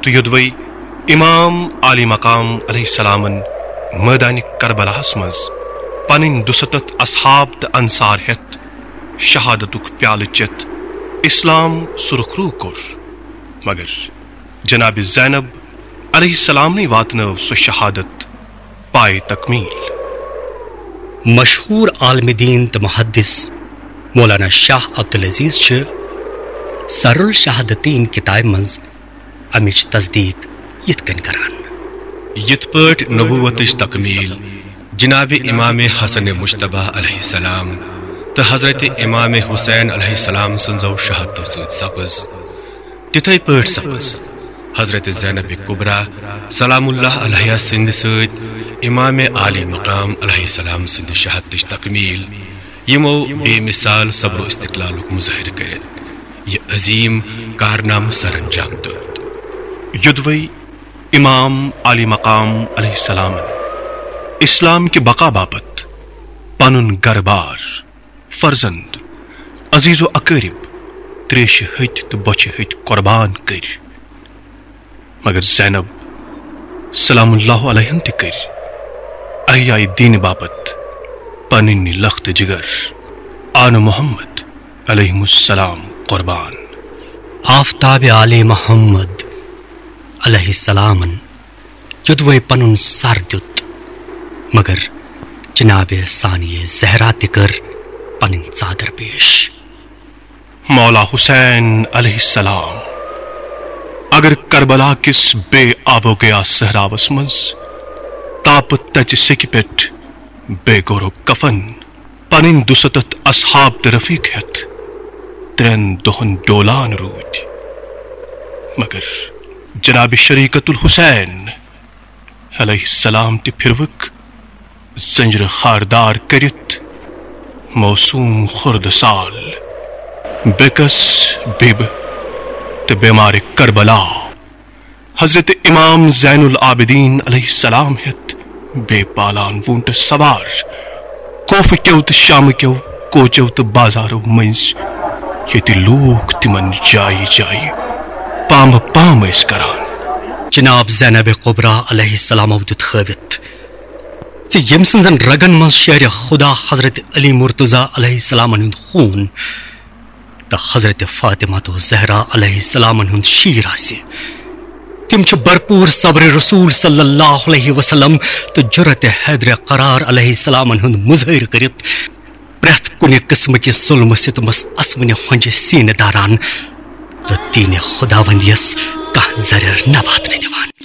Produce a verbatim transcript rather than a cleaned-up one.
تہٕ یوٚدوَے امام عالی مقام علیہ السلامن مٲدانِ کربلاہس منٛز پنٕنۍ دُستتھ اصحاب تہٕ انصار ہٮ۪تھ شہادتُک پیالہٕ چٮ۪تھ اسلام سُرخرو کوٚر، مگر جناب زینب علیہ السلامنٕے واتنٲو سۄ شہادت پایہِ تکمیل۔ مشہوٗر عالمِ دیٖن تہٕ محدث مولانا شاہ عبدالعزیز چھِ سر الشہادتین کتابہِ منٛز امِچ تصدیق یِتھ کٔنۍ کران۔ یِتھ پٲٹھۍ نبوتٕچ تکمیل جناب امام حسن مجتبیٰ علیہ السلام تہٕ حضرت امام حسین علیہ السلام سٕنٛزو شہادتو سۭتۍ سپٕز، تِتھے پٲٹھۍ سپٕز حضرت زینب کبریٰ سلام اللہ علیہ سٕنٛدِ سۭتۍ امام عالی مقام علیہ السلام سٕنٛدِ شہادتٕچ تکمیل، یِمو بے مثال صبر و استقلالُک مظٲہرٕ کٔرِتھ یہِ عظیم کارنامہٕ سر انجام دیُت۔ یوٚدوَے امام عالی مقام علیہ السلامن اسلام کہِ بقا باپتھ پنُن گرٕ بار، فرزند، عزیز و اقٲرب، تریشہِ ہتۍ تہٕ بۄچھِ ہتۍ قربان کٔرۍ، مگر زینب سلام اللہ علیہن تہِ کٔرۍ احیاء دین باپتھ پنٕنۍ لخت جگر آل محمد علیہم السلام قربان۔ آفتاب آل محمد علیہ السلامن یوٚدوَے پنُن سر دیُت، مگر جناب ثانیہ زہرا تہِ کٔر پنٕنۍ ژادر پیش۔ مولا حسین علیہ السلام اگر کربلا کِس بے آب و گیا صحراوس منٛز تاپہٕ تژِ سیٚکہِ پٮ۪ٹھ بے گورو کفن پنٕنۍ دُستتھ اصحاب تہٕ رفیق ہٮ۪تھ ترٛٮ۪ن دۄہن ڈولان روٗدۍ، مگر جناب شریکت الحسین علیہ السلام تہِ پھِروٕکھ زنجرٕ خاردار کٔرِتھ معصوم خُرد سال بیکس بیبہ تہٕ بیمارِ کربلا حضرت امام زین العابدین علیہ السلام ہٮ۪تھ بے پالان ووٗنٛٹس سوار کوفہٕ کیو تہٕ شامہٕ کیو کوچو تہٕ بازارو مٔنٛزۍ، ییٚتہِ لوٗکھ تِمن جایہِ جایہِ پامہٕ پام ٲسۍ کران۔ جناب زینب کبریٰ علیہ السلامو دیُت ہٲوِتھ زِ ییٚمۍ سٕنٛزن رگن منٛز شیرِ خدا حضرت علی مرتضیٰ علیہ السلامن ہُنٛد خوٗن تہٕ حضرت فاطمہ تہٕ زہرا علیہ السلامن ہُنٛد شیٖر آسہِ، تِم چھِ بھرپوٗر صبر رسول صلی اللہ علیہ وسلم تہٕ جرأت حیدر قرار علیہ السلامن ہُنٛد مظٲہرٕ کٔرِتھ پرٛٮ۪تھ کُنہِ قٕسمہٕ کِس ظُلمہٕ ستمس اسوٕنہِ ہۄنٛجہِ سیٖنہٕ داران تہٕ دیٖنِ خداوندیس کانٛہہ زرٮ۪ر نہ واتنہٕ دِوان۔